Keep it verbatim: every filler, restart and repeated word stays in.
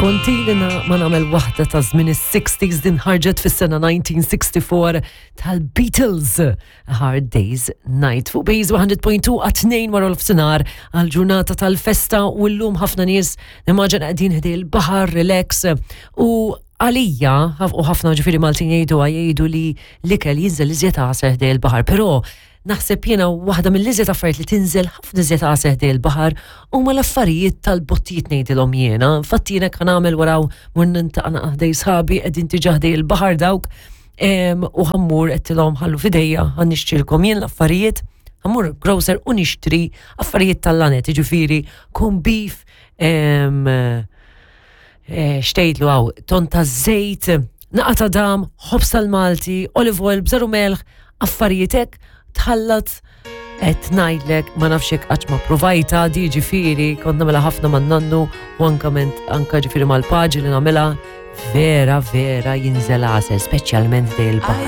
Kont ili ma nagħmel waħda ta' żmien is-sixties, din ħarġet fis-sena elf disa' mija u sitta u sittin tal-Beatles, A Hard Day's Night. Fuq Base one hundred point two għat-tnejn wara nofsinhar għal-ġurnata tal-festa u llum ħafna nies nimmaġina qegħdin ħdejn il-baħar, relax, u għalija u ħafna ġifieri Maltin jgħidu jgħidu li l-ikel jinżel iżjed għasel ħdejn il-baħar, però naħseb jiena waħda mill-iżjed affarijiet li tinżel ħafna iżjed għasel ħdejn il-baħar huma l-affarijiet tal-bottijiet ngħidilhom jiena. Infatti jiena kan nagħmel waraw mur nintaqna ħdejn sħabi, qegħdin diġà ħdejn il-baħar dawk, u ħa mmur, għedtilhom ħallu f'idejja, ħa nixtrilkom jien l-affarijiet, ħa mmur grocer u nixtri affarijiet tal-laned, ġifieri corned beef, eh, xtejtlu għaw, ton ta' zejt, naqra ta' dam, ħobż tal-Malti, olive oil, bżar u melħ, affarijiet hekk, tħallat. Qed ngħidlek, ma nafx hekk qatt ma provajta di, ġifieri kont nagħmilha ħafna man nannu u anka ment anka ġifieri mal-paġi li nagħmilha, vera vera jinżel għasel, speċjalment ħdejn il-baħar.